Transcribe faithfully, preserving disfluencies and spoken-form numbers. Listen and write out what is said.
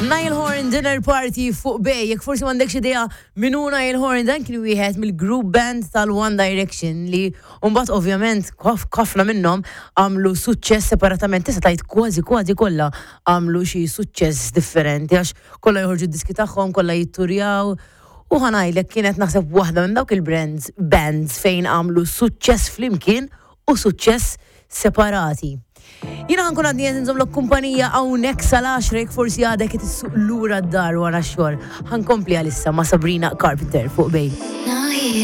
Niall Horan Dinner Party fuq Bay, jekk forsi m'għandekx idea min hu Niall Horan, dan kien wieħed mill-group band tal-One Direction li mbagħad ovvjament ħafna minnhom għamlu suċċess separatament, tista' tgħid kważi kważi kollha għamlu xi suċċess differenti għax kollha joħorġu d-diski tagħhom, kollha jitturjaw. U ħa ngħidlek, kienet naħseb waħda minn dawk il-brands bands fejn għamlu suċċess flimkien u suċċess separati. Jiena ħa nkun għadni qed inżommlok kumpanija hawnhekk sal-għaxra jekk forsi għadek qed issuq lura d-dar wara x-xogħol. Ħa nkompli għalissa ma' Sabrina Carpenter fuq Bay.